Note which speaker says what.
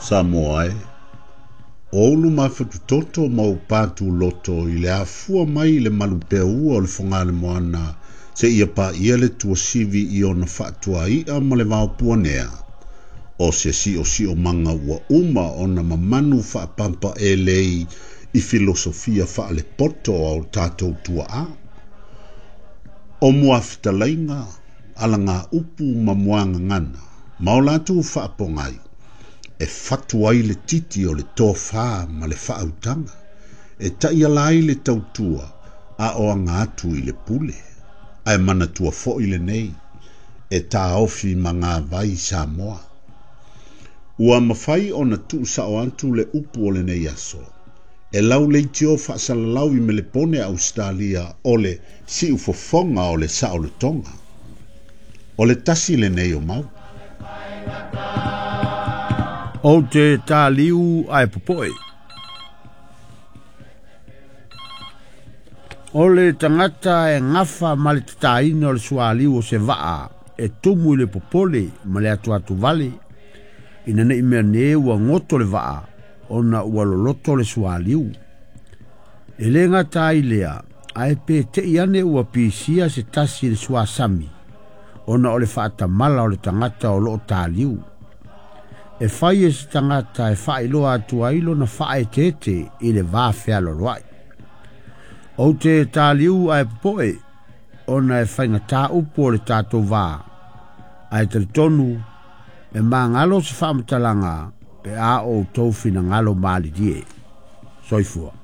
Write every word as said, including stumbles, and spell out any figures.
Speaker 1: Samoa e, o ulu mafatutoto ma o patu loto i le afua mai i le malupeaua o le fogale moana se ia paia le tuasivi i ona faatuai'a ma le vaopuanea. O se siosiomaga ua uma ona mamanu faapampaelei i filosofia faalepoto a o tatou tuaa. O muafetalaiga, alagaupu ma muagagana, ma o latou faapogai, e fatu ai le titi o le tofā ma le faautaga, e taiala ai le tautua a o aga atu i le pule. Ae manatua foi lenei, e taofi magavai Samoa. Ua mafai ona tuusao atu le upu o lenei aso, e lauleitio faasalalau i Melepone Ausetalia o le siufofoga o le saolotoga. O le tasi lenei o mau.
Speaker 2: Ou te tāliu ae popoe. O le tagata e gafa ma le tataina o le sualiu o se vaa e tumu i le popole ma le atuatu vale ina nei mea ne ua goto le vaa ona ua loloto le sualiu. E le gata ai lea, ae pe tei ane ua pisia se tasi i le suasami ona o le faatamala o le tagata o loo taliu. E fai e se tagata e faailoa atu ai lona faaeteete i le va fealoloai. Ou te taliu ae popoe ona e faigatā upu o le tatou vā, ae talitonu e magalo se faamatalaga pe a outou finagalo malilie. Soifua.